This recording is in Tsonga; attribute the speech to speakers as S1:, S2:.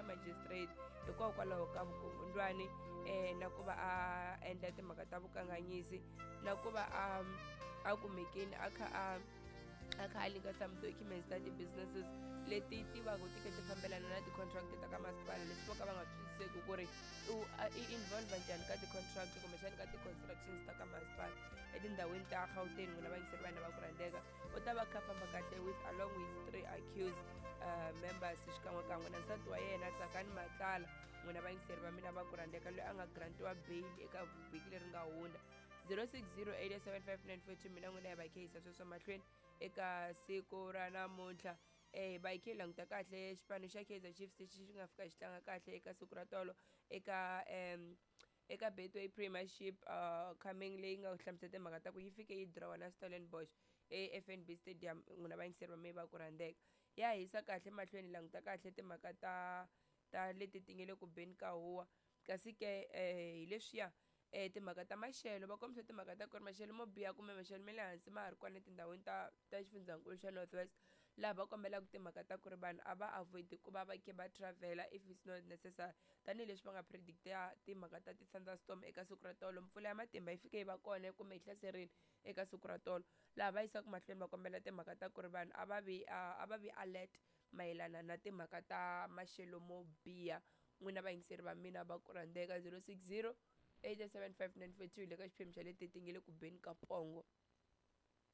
S1: magistrate hikokwalaho ka vukungundwani um na ku va a endla timhaka ta vukanganyisi na ku va a a kumekini a kha a a kha a linka some documents ta ti-businesses leti ti va ku ti kha ti fambelana na ti-contract ta ka masipala leswi vo ka va nga twisiseki ku ri i involve njhani ka ti-contract kumbexani ka ti-constructions ta ka masipala etindhawini ta Gauteng. N'wina vayingiseri vanhu va ku rhandzeka, u ta va kha famba kahle with along with three accused members xikan'wekan'we na nsati wa yena Tsakani Matlala. N'wina vayingiseri va mina va ku rhandzeka, loyi a nga grantiwa bail eka vhiki leri nga hundza. 0608755942. Mina n'wina hi va khehisa sweswo mahlweni eka siku ra namuntlha. Va hi khe hi languta kahle xipano xa Kaizer Chiefs lexi xi nga fika xi tlanga kahle eka siku ra tolo eka Betway Premiership coming leyi nga hlamusela timhaka ta ku yi fike yi drawa na Stellenbosch e-FNB Stadium. N'wina vayingiseri va mehe va ku rhandzeka, ya hisa kahle mahlweni, languta kahle timhaka ta leti ti nge le ku beni ka huwa. Kasi ke hi leswiya timhaka ta maxelo, va kombisa timhaka ta ku ri maxelo mo biha kumbe maxelo ma le hansi ma ha ri kona etindhawini ta xifundzankulu xa North West, laha va kombelaka timhaka ta ku ri vanhu a va avoid ku va va khe va travela if it's not necessary, tanihileswi va nga predicta timhaka ta ti-thunderstorm eka siku ra tolo. Mpfula ya matimba yi fike yi va kona kumbe yi hlaserile eka siku ra tolo, laha va yisaka mahlweni va kombela timhaka ta ku ri vanhu a va vi alert mayelana na timhaka ta maxelo mo biha. N'wina vayingiseri va mina va ku rhandzeka, 060 875 942 le ka xiphemu xa leti ti nge le ku beni ka pongo.